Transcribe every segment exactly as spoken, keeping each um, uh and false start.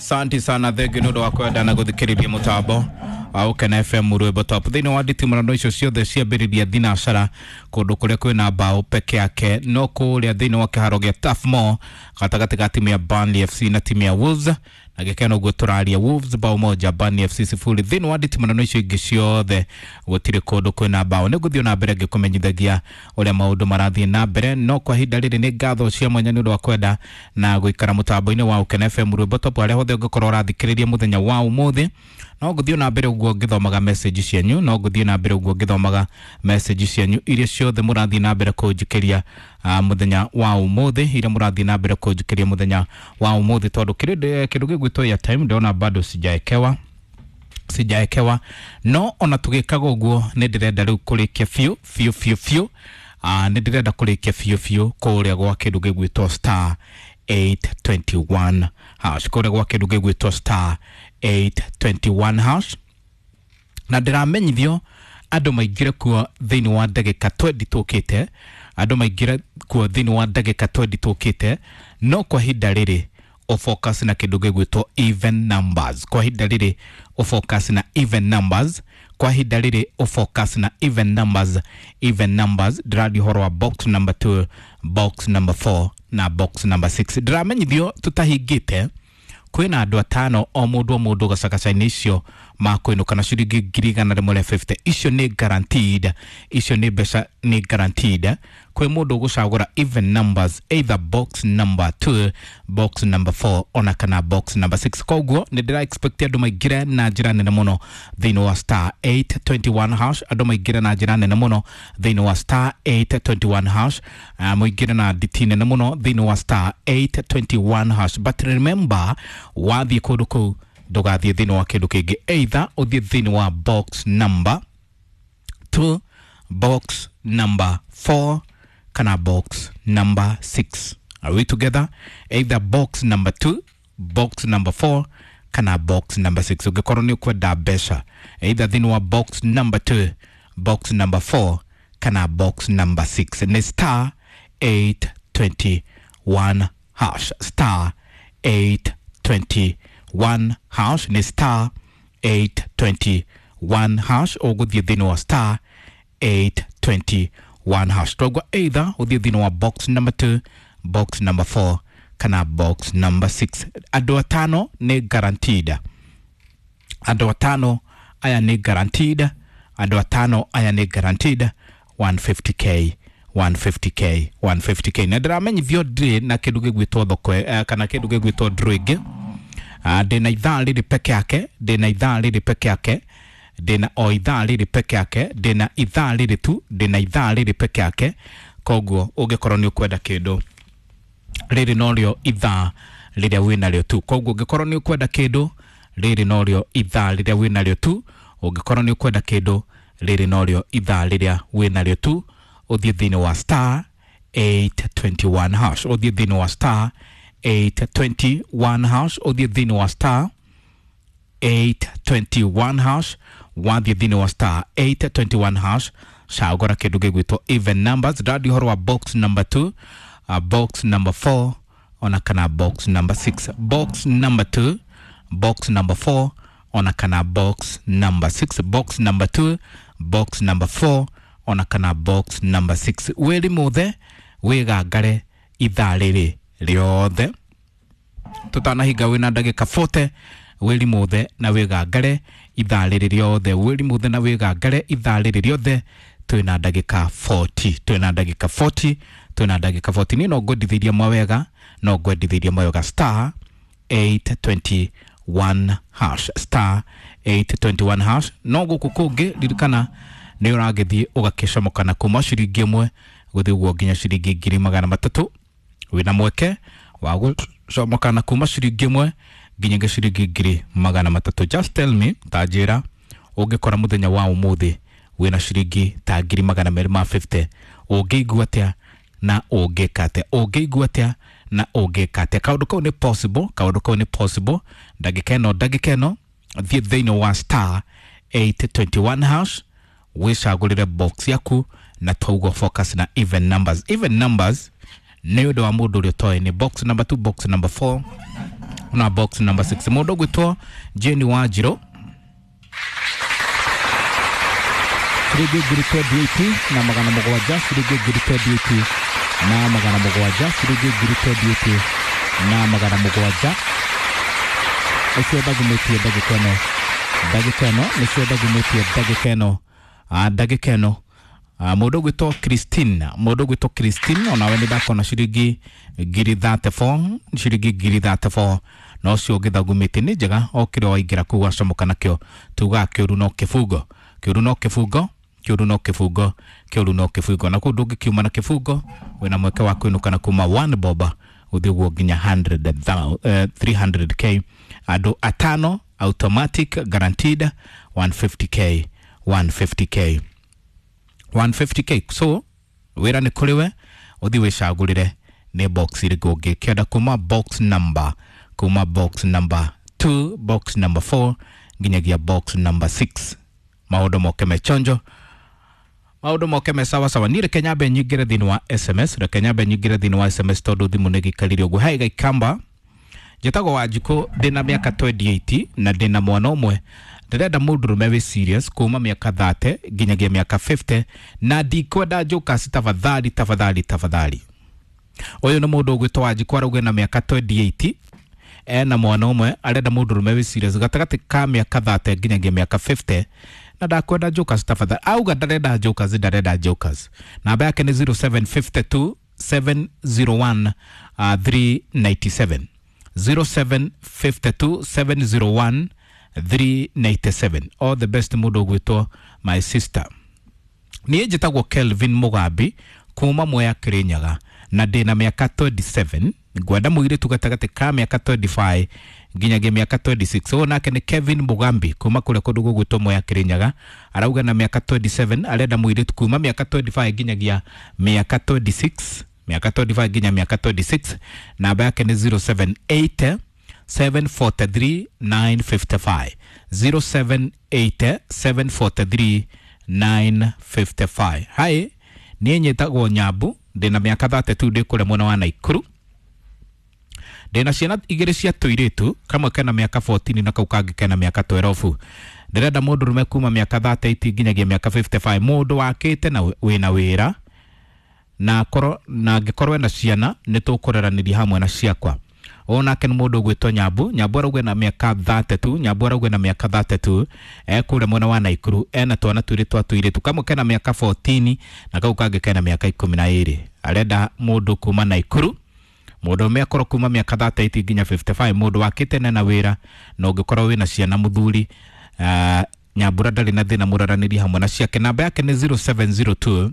Asante sana, thengiũ nĩ ũndũ wa kwenda na gũthikĩrĩria mũtambo wa Ũkena F M rwĩmbo top. Thĩinĩ wa nditimũrano icio ciothe ciambĩrĩria thinacara kũndũ kũrĩa kwĩna mbaũ peke yake, no kũrĩa thĩinĩ wa kĩharo gĩa Turf Moor gatagatĩ ga timu ya Burnley F C na timu ya Wolves, na gĩkeno ũguo tũraria Wolves bao moja Burnley F C sifuri. Thĩinĩ wa nditimũrano icio ingĩ ciothe gũtirĩ kũndũ kwĩna mbaũ. Nĩ ngũthiĩ na mbere ngĩkũmenyithagia ũrĩa maũndũ marathiĩ na mbere, no kwa ihinda rĩrĩ nĩ ngatho cia mwanya nĩ ũndũ wa kwenda na gũikara mũtambo-inĩ wa Ũkena F M rwĩmbo top harĩa hothe ũngĩkorwo ũrathikĩrĩria mũthenya wa ũmũthĩ. No ngũthiĩ na mbere ũguo ngĩthomaga message cianyu, no ngũthiĩ na mbere ũguo ngĩthomaga message cianyu iria ciothe mũrathiĩ na mbere kũnjikĩria uh, mũthenya wa ũmũthĩ, iria mũrathiĩ na mbere kũnjikĩria mũthenya wa ũmũthĩ, tondũ kĩndũ kĩndũ gĩgwĩtwo airtime ndĩrona bado sijaekewa sijaekewa no ona tũgĩkaga ũguo nĩ ndĩrenda rĩu kũrĩkia biũ biũ biũ biũ. uh, nĩ ndĩrenda kũrĩkia biũ biũ kũrĩa gwa kĩndũ gĩgwĩtwo star eight twenty-one hash, kũrĩa gwa kĩndũ gĩgwĩtwo star eight twenty-one hash, na ndĩramenyithio andũ maingĩre kuo thĩinĩ wa ndagĩka twenty tũkĩte, andũ maingĩre kuo thĩinĩ wa ndagĩka twenty tũkĩte, no kwa ihinda rĩrĩ ũfocus na kĩndũ gĩgwĩtwo even numbers. Kwa ihinda rĩrĩ ũfocus na even numbers, kwa ihinda rĩrĩ ũfocus na even numbers, even numbers. Ndĩraria ũhoro wa box number two, box number four na box number six. Ndĩramenyithio tũtahingĩte kwĩna andũ atano o mũndũ o mũndũ gacagaca-inĩ icio makwĩnũka na ciringi ngiri igana rĩmwe rĩa fifty. Icio nĩ guaranteed, icio nĩ mbeca nĩ guaranteed. Kwĩ mũndũ ũgũcagũra even numbers, either box number two, box number four ona kana box number six. Koguo nĩ ndĩra expect andũ maingĩre na njĩra nene mũno thĩinĩ wa star eight twenty-one hash, andũ maingĩre na njĩra nene mũno thĩinĩ wa star eight twenty-one hash, uh, mũingĩre na nditi nene mũno thĩinĩ wa star eight twenty-one hash. But remember, wathiĩ kũndũ kũu ndũgathiĩ thĩinĩ wa kĩndũ kĩngĩ, either ũthiĩ thĩinĩ wa box number two, box number four kana box number six. Are we together? Either box number two, box number four kana box number six. Ũngĩkorwo nĩ ũkwenda mbeca, either thĩinĩ wa box number two, box number four kana box number six. Nĩ star eight twenty-one hash, star eight twenty-one hash, nĩ star eight twenty-one hash. Ũgũthiĩ thĩinĩ wa star eight twenty-one hash. Twagwa either ũthiĩ thĩinĩ wa box number two, box number four kana box number six. Andũ atano nĩ guaranteed, andũ atano aya nĩ guaranteed, andũ atano aya nĩ guaranteed one fifty K, one fifty K, one fifty K. Na ndĩramenyithio ndirĩ na kĩndũ gĩgwĩtwo thoko eh, kana kĩndũ gĩgwĩtwo draw ĩngĩ. Uh, ndĩna ithaa rĩrĩ peke yake, ndĩna ithaa rĩrĩ peke yake, ndĩna o ithaa rĩrĩ peke yake, ndĩna ithaa rĩrĩ tu, ndĩna ithaa rĩrĩ peke yake. Koguo ũngĩkorwo nĩ ũkwenda kĩndũ rĩrĩ norĩo ithaa rĩrĩa wĩnarĩo tu. Koguo ũngĩkorwo nĩ ũkwenda kĩndũ rĩrĩ norĩo ithaa rĩrĩa wĩnarĩo tu, ũngĩkorwo nĩ ũkwenda kĩndũ rĩrĩ norĩo ithaa rĩrĩa wĩnarĩo tu, ũthiĩ thĩinĩ wa star eight twenty-one hash, ũthiĩ thĩinĩ wa star eight twenty-one hash, ũthiĩ thĩinĩ wa star eight twenty-one hash, wathiĩ thĩinĩ wa star eight twenty-one hash, cagũra kĩndũ gĩgwĩtwo even numbers. Ndĩraria ũhoro wa box number two, uh, box number four ona kana box number six, box number two, box number four ona kana box number six, box number two, box number four ona kana box number six. Wĩri mũthe wĩgangare ithaa rĩrĩ rĩothe tũtanahinga wĩna ndagĩka forty. Wĩri mũthe na wĩgangare ithaa rĩrĩ rĩothe, wĩri mũthe na wĩgangare ithaa rĩrĩ rĩothe, twĩna ndagĩka forty, twĩna ndagĩka forty, twĩna ndagĩka forty. Niĩ no ngwendithĩirie mawega, no ngwendithĩirie mawega star eight twenty-one hash, star eight twenty-one hash. No gũkũ kũngĩ ririkana nĩ ũragĩthiĩ ũgakĩcomoka na kuma ciringi ĩmwe gũthiĩ ũguo nginya ciringi ngiri magana matatũ. Wĩna mweke wa gũcomoka na kuma ciringi ĩmwe nginya ciringi ngiri magana matatũ. Just tell me, ta njĩra ũngĩkora mũthenya wa ũmũthĩ wĩna ciringi ta ngiri magana merĩ ma fifty, ũngĩigua atĩa na ũngĩka atĩa? Ũngĩigua atĩa na ũngĩka atĩa? Kaũndũ kau nĩ possible, kaũndũ kau nĩ possible. Ndagĩka ĩno, ndagĩka ĩno thiĩ thĩinĩ wa star eight twenty-one hash, wĩcagũrĩre box yaku na twauga focus na even numbers. Even numbers nĩ ũndũ wa mũndũ ũrĩa ũtoĩ nĩ box number two, box number four Na box number six mundu gwitwo Jane Wanjiru ciringi ngiri twenty-eight na magana mugwanja, ciringi ngiri twenty-eight na magana mugwanja, ciringi ngiri twenty-eight na magana mugwanja. Ucio ndagumitie ndagika ĩno, ndagika ĩno nĩcio ndagumitie ndagika ĩno, ndagika ĩno. Mũndũ ũgwĩtwo Christine, mũndũ ũgwĩtwo Christine onawe nĩ ndakona ciringi ngiri thirty-four, ciringi ngiri thirty-four na ũcio ũngĩthagumĩtie nĩ njega o kĩrĩa waingĩra kũu wacomoka nakĩo tugaga kĩũru no kĩbungo, kĩũru no kĩbungo, kĩũru no kĩbungo, kĩũru no kĩbungo. Na kũu ndũngĩkiuma na kĩbungo wĩna mweke wa kwĩnũka na kuma one bob gũthiĩ ũguo nginya three hundred k. Andũ atano automatic guaranteed one fifty k, one fifty k, one fifty k. So wĩra nĩ kũrĩ we ũthiĩ wĩcagũrĩre nĩ box ĩrĩkũ ũngĩkĩenda kuma box number, kuma box number two, box number four nginyagia box number six. Maũndũ moke me chonjo, maũndũ moke me sawa sawa. Niĩ reke nyambe nyingĩre thĩinĩ wa S M S, reke nyambe nyingĩre thĩinĩ wa S M S tondũ thimũ nĩ gĩikarire ũguo. Hai Gaikamba, njĩtagwo Wanjikũ, ndĩna mĩaka twenty-eight na ndĩna mwana ũmwe. Ndĩrenda mũndũrũme wĩ serious kuma mĩaka thirty nginyagia mĩaka fifty na ndikwenda jokers, tafadhali tafadhali tafadhali. Ũyũ nĩ mũndũ ũgwĩtwo Wanjikũ arauga na mĩaka twenty-eight ena mwana ũmwe, arenda mũndũrũme wĩ serious gatagatĩ ka mĩaka thirty nginyagia mĩaka fifty na ndakwenda jokers tafadhali. Auga ndarenda jokers, ndarenda jokers. Namba yake nĩ zero seven five two seven zero one three nine seven, zero seven five two seven zero one three nine seven. All the best mũndũ ũgwĩtwo my sister. Niĩ njĩtagwo Kelvin Mugambi kuma Mwea Kirinyaga na ndĩna mĩaka twenty-seven. Ngwenda mũirĩtu gatagatĩ ka mĩaka twenty-five nginyagia mĩaka twenty-six. Ũyũ nake nĩ Kevin Mugambi kuma kũrĩa kũndũ gũgwĩtwo Mwea Kirinyaga, arauga na mĩaka twenty-seven arenda mũirĩtu kuma mĩaka twenty-five nginyagia mĩaka twenty-six, mĩaka twenty-five nginya mĩaka twenty-six. Namba yake nĩ zero seven eight seven four three nine five five, zero seven eight seven four three nine five five. Hai, niĩ nyĩtagwo Nyambu, ndĩna mĩaka thirty-two, ndĩ kũrĩa mwena wa Naikuru. Ndĩna ciana igĩrĩ cia tũirĩtu, kamwe kena mĩaka fourteen na kau kangĩ kena mĩaka twelve. Ndĩrenda mũndũrũme kuma mĩaka thirty-eight nginyagia mĩaka fifty-five, mũndũ wakĩte na wĩna wĩra na akorwo na angĩkorwo ena ciana nĩ tũkũreranĩria hamwe na ciakwa. Ũyũ nake nĩ mũndũ ũgwĩtwo Nyambu, Nyambu arauga na mĩaka thirty-two, Nyambu arauga na mĩaka thirty-two ekũrĩa mwena wa Naikuru, ena twana twĩrĩ twa tũirĩtu, kamwe kena mĩaka fourteen na kau kangĩ kena mĩaka ikũmi na ĩrĩ. Arenda mũndũ kuma Naikuru, mũndũ ũmwe akorwo kuma mĩaka thirty-eight nginya fifty-five, mũndũ wakĩte na wĩra na ũngĩkorwo wĩna ciana mũthuri. uh, Nyambura ndarĩ na thĩna, mũraranĩrie hamwe na ciake. Namba yake nĩ zero seven zero two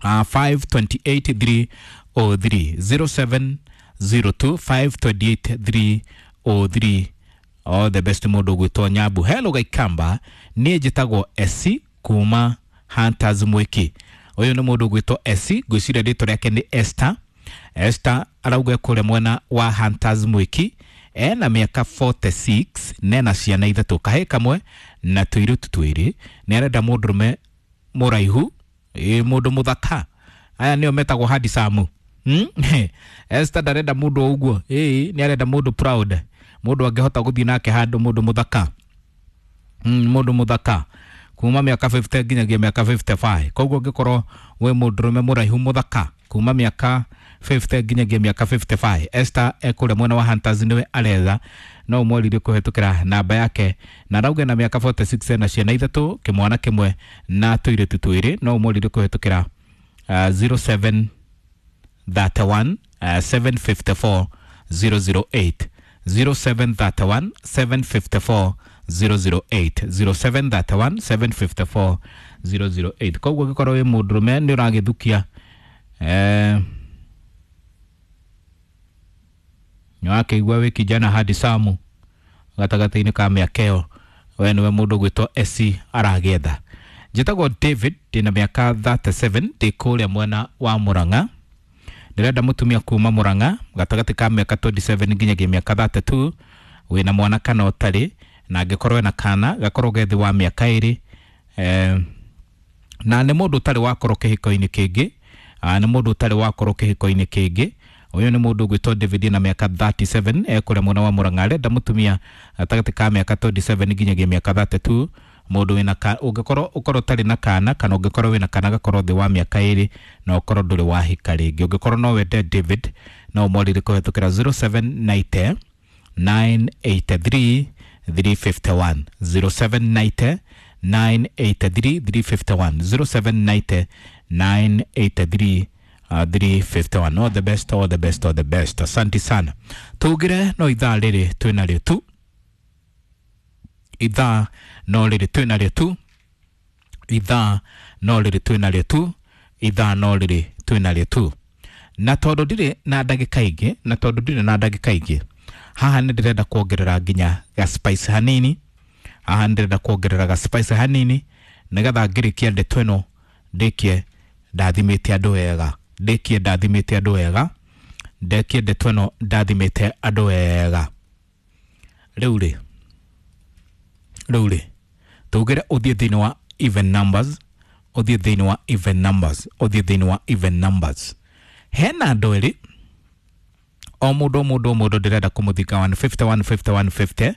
uh, five two eight three oh three, zero seven zero two five two eight three oh three. All the best mũndũ ũgwĩtwo Nyambu. Hello Gaikamba, niĩ njĩtagwo Esi kuma Hunters Mwiki. Ũyũ nĩ mũndũ ũgwĩtwo Esi, ngwĩciria rĩtwa rĩake nĩ Esther. Esther arauga kũrĩa mwena wa Hunters Mwiki, ena mĩaka forty-six, nena ciana ithatũ, kahĩĩ kamwe na tũirĩtu twĩrĩ. Nĩ arenda mũndũrũme mũraihu, ĩ mũndũ mũthaka. Aya nĩo metagwo handsome. Hmm? Esther ndarenda mũndũ o ũguo, ĩ nĩ arenda mũndũ proud, mũndũ angĩhota gũthiĩ nake handũ, mũndũ mũthaka. Mm, mũndũ mũthaka kuma mĩaka fifty nginyagia mĩaka fifty-five. Koguo ũngĩkorwo wĩ mũndũrũme mũraihu mũthaka kuma mĩaka fifty nginyagia mĩaka fifty-five, Esther ekũrĩa mwena wa Hunters nĩwe aretha. No ũmwaririe kũhetũkĩra namba yake, na arauga na mĩaka forty-six na ciana ithatũ, kĩmwana kĩmwe na tũirĩtu twĩrĩ. No ũmwaririe kũhetũkĩra uh, zero seven thirty one seven fifty four zero zero eight, zero seven thirty one seven fifty four zero zero eight, zero seven thirty one seven fifty four zero zero eight. Koguo ũngĩkorwo wĩ mũndũrũme nĩ ũragĩthukia eh nĩwakĩigua wĩ kijana handsome gatagatĩ-inĩ ka mĩaka ĩyo, we nĩwe mũndũ ũgwĩtwo Esi aragĩetha. Njĩtagwo David, ndĩna mĩaka thirty-seven, ndĩ kũrĩa mwena wa Murang'a. Ndĩrenda mũtumia kuma Murang'a gatagatĩ ka mĩaka twenty-seven nginyagia mĩaka thirty-two, wĩna mwana kana ũtarĩ, na angĩkorwo ena kana gakorwo ge thĩ wa mĩaka ĩrĩ, eh, na nĩ mũndũ ũtarĩ wakorwo kĩhiko-inĩ kĩngĩ, nĩ mũndũ ũtarĩ wakorwo kĩhiko-inĩ kĩngĩ. Ũyũ nĩ mũndũ ũgwĩtwo David na mĩaka thirty-seven, ekũrĩa mwena wa Murang'a, arenda mũtumia gatagatĩ ka mĩaka twenty-seven nginyagia mĩaka thirty-two, mũndũ wĩna ka ũngĩkorwo ũkorwo ũtarĩ na kana, kana ũngĩkorwo wĩna kana gakorwo thĩ wa mĩaka ĩrĩ, na ũkorwo ndũrĩ wahika rĩngĩ. Ũngĩkorwo no wende David, no ũmwarĩrie kũhetũkĩra zero seven ninety nine eight three three fifty one, zero seven ninety nine eight three three fifty one, zero seven ninety nine eight three three fifty one. All the best, all the best, all the best. Asante sana. Tugire no ithaa rĩrĩ twĩnarĩo tu, ithaa no rĩrĩ twĩnarĩo tu, ithaa no rĩrĩ twĩnarĩo tu, ithaa no rĩrĩ twĩnarĩo tu. Na tondũ ndirĩ na ndagĩka ingĩ, na tondũ ndirĩ na ndagĩka ingĩ, haha nĩ ndĩrenda kuongerera nginya ga spice hanini, haha nĩ ndĩrenda kuongerera ga spice hanini nĩgetha ngĩrĩkia ndeto ĩno ndĩkie ndathimĩte andũ wega, ndĩkie ndathimĩte andũ wega, ndĩkie ndeto ĩno ndathimĩte andũ wega. Rĩu rĩ, rĩu rĩ, tugire ũthiĩ thĩinĩ wa even numbers, ũthiĩ thĩinĩ wa even numbers, ũthiĩ thĩinĩ wa even numbers. Hena andũ erĩ, o mũndũ o mũndũ o mũndũ ndĩrenda kũmũthika one fifty, one fifty, one fifty,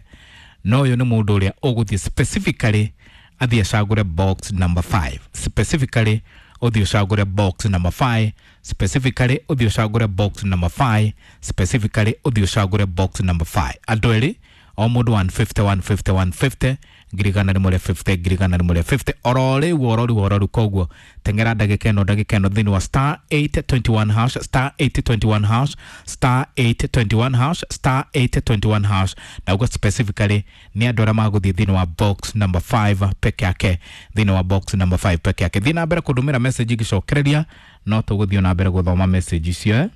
no ũyũ nĩ mũndũ ũrĩa ũgũthiĩ specifically athiĩ acagũre box number five, specifically ũthiĩ ũcagũre box number five, specifically ũthiĩ ũcagũre box number five, specifically ũthiĩ ũcagũre box number five. Andũ erĩ, o mũndũ one fifty, one fifty, one fifty, ngiri igana rĩmwe rĩa fifty, ngiri igana rĩmwe rĩa fifty, oro rĩu, oro rĩu, oro rĩu. Koguo teng'era ndagĩka ĩno, ndagĩka ĩno thĩinĩ wa star eight twenty-one hash, star eight twenty-one hash, star eight twenty-one hash, star eight twenty-one hash. Na ũguo specifically nĩ andũ arĩa magũthiĩ thĩinĩ wa box number five peke yake, thĩinĩ wa box number five peke yake. Thiĩ na mbere kũndũmĩra message ngĩcokereria, no tũgũthiĩ na mbere gũthoma message icio, eh?